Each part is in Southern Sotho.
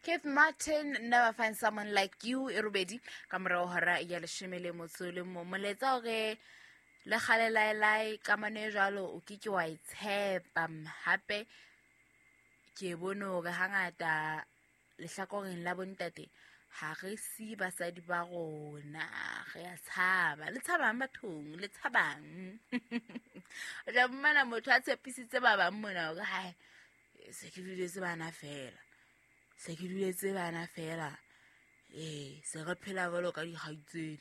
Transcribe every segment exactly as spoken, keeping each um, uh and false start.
Keith Martin, Never Find Someone Like You, e robedi ka morao hora ya leshome le motso le mong. Molaetsa hore le kgale laelae kamano e jwalo o ke ke wa e tshepa. Hape ke bone hore hangata lehlakoreng la bontate ha re siye basadi ba rona, re a tshaba. Le tshabang bathong, le tshabang. O tla fumana motho a tshepisitse ba bang mona hore hai se ke duletse bana fela, se ke duletse bana fela, ee se re phela jwalo ka dikgaitsedi.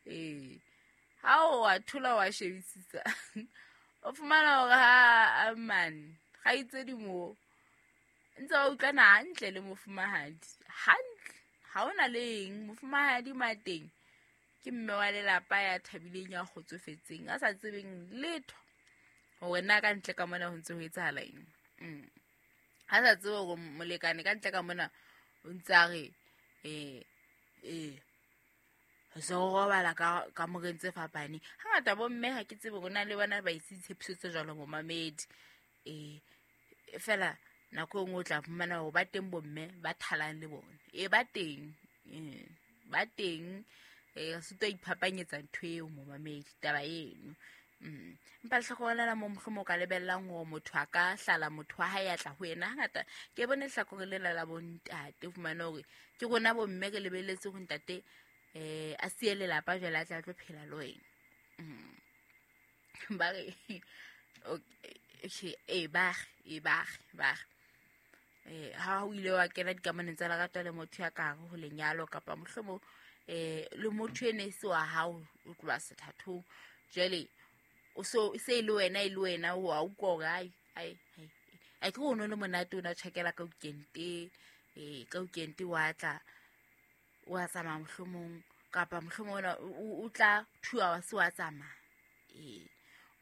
Ee ha o wa thola wa shebisisa o fumana hore ha man kgaitsedi moo ntse ba utlwana hantle le mofumahadi hantle, ha hona le eng. Mofumahadi mateng ke mme wa lelapa ya thabileng, ya kgotsofetseng, a sa tsebeng letho hore na ka ntle ka mona ho ntse ho etsahala eng. Mm. Ha sa tsebe hore molekane ka ntle ka mona o ntse a re eh eh se o robala ka kamoreng tse fapaneng. Hangata bomme ha ke tsebe hore na le bona ba ise ditshepiso tse jwalo momamedi. Eh fela nako e nngwe o tla fumana hore ba teng bomme ba thalang le bona. E ba teng, eh ba teng, eh sitwa iphapanyetsa ntho eo momamedi taba eno. Mm. Empa lehlakore lena mo mohlomong o ka lebellang hore motho a ka hlala motho wa hae a tla ho yena. Hangata ke bone lehlakore lena la bontate, o fumane hore ke rona bomme re lebelletse ho ntate eh a siye lelapa jwale a tla tlo phela le wena. Mm. Ba re okay, eh ba re, ba re, ba re eh ha o ile wa kena dikamanong tsa lerato le motho ya ka hare ho lenyalo kapa mohlomong eh le motho ene se wa hao o tloha sethathong, jwale o so se le wena e le wena o a utlwa hore ai ai ai a ke o no le monate o na tjhakela ka weekend, eh ka weekend wa tla wa tsamaya mohlomong kapa mohlomong ona o tla two hours wa tsamaya, eh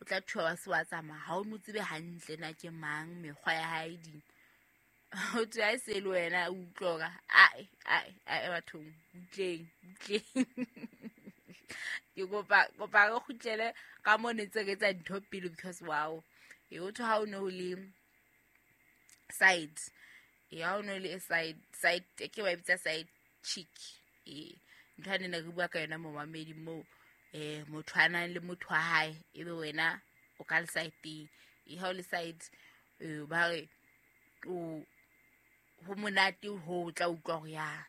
o tla two hours wa tsamaya, ha o mo tsebe hantle na ke mang, mekgwa ya hae ding. O thwe ha e se le wena o utlwa hore ai ai ai bathong butleng butleng. Ke kopa kopa re kgutlele ka mo ne ntse re etsa dintho pele because wow. E o thwe ha o no le side, e ha o no le side side ke ba bitsa side chick, e ntho ane ne re bua ka yona momamedi moo eh motho a nang le motho wa hae ebe wena o ka le side-eng. E ha o le side eh ba re o ho monate ho tla utlwa hore ya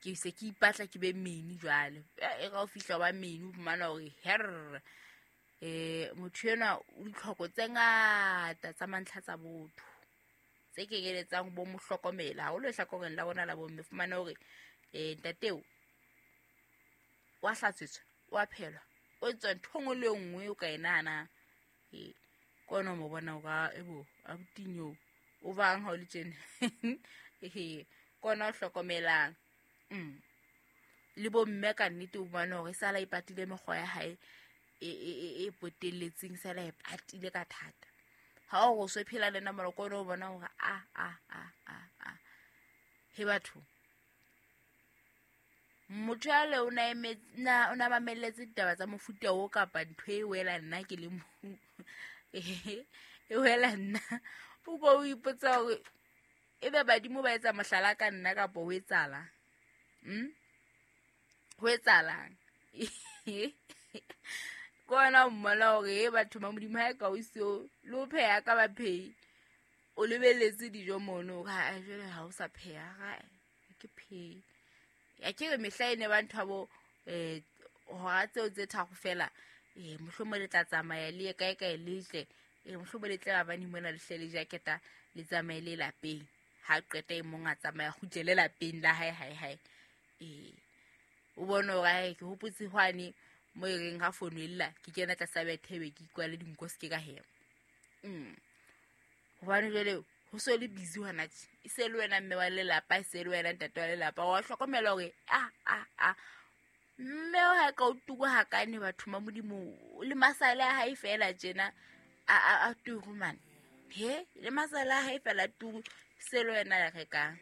ke se ke ipatla ke be meni jwale. E ra o fihla ba meni o fumana hore her eh motho enwa o ditlhoko tse ngata tsa mantlha tsa botho tse kenyeletsang bo mo hlokomela haholo lehlakoreng la rona la bomme. Fumana hore eh ntateo wa hlatswetswa, wa phelwa, o etswa ntho nngwe le nngwe o ka e nahanang. Eh ke ona o mo bona hore ebo abutinyo o bang ha o le tjena. Ehe ke ona o hlokomelang. Mm. Le bomme ka nnete o bona hore sala e patile mekgwa ya hae e e e potelletseng, sala e patile ka thata. Ha o go so phela le nna moloko o bona hore a a a a a he batho motho ya le o na emetse na o na mamelletse ditaba tsa mofuta o kapa ntho e wela nna ke le mo e wela nna o bo o ipotsa hore ebe badimo ba etsa mohlala ka nna kapa ho etsahala. Mm ho etsahalang. Ke ona o mmona hore e batho ba Modimo ha e ka o seo le o pheha ka ba phehi o lebelletse dijo mono ha jwale ha o sa pheha ha ke phehe. Ya ke re mehla e ne ba ntho bo eh hora tseo tse tharo fela eh mohlomong le tla tsamaya le ye kae kae le tle eh mohlomong le tle ba bane mona le hle le jaketa le tsamaye le lapeng. Ha qeta e mong a tsamaya kgutlele lapeng la hae hae hae. Eh o bone hore hae ke hopotse hwane mo e reng ha fono e lla ke kena tlasa bethebe ke ikwale dinko se ke ka hema. Mm. Hobane jwale ho so le busy hona tje, e se le wena mme wa lelapa, e se le wena ntate wa lelapa, wa hlokomela hore a a a mme o ha ka o tuka hakane batho ba Modimo le masale a hae fela tjena a a a turu man. He le masale a hae fela turu se le wena ya rekang.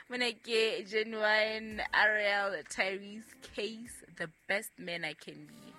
Mona ke Genuine Ariel Tyrese Case, The Best Man I Can Be.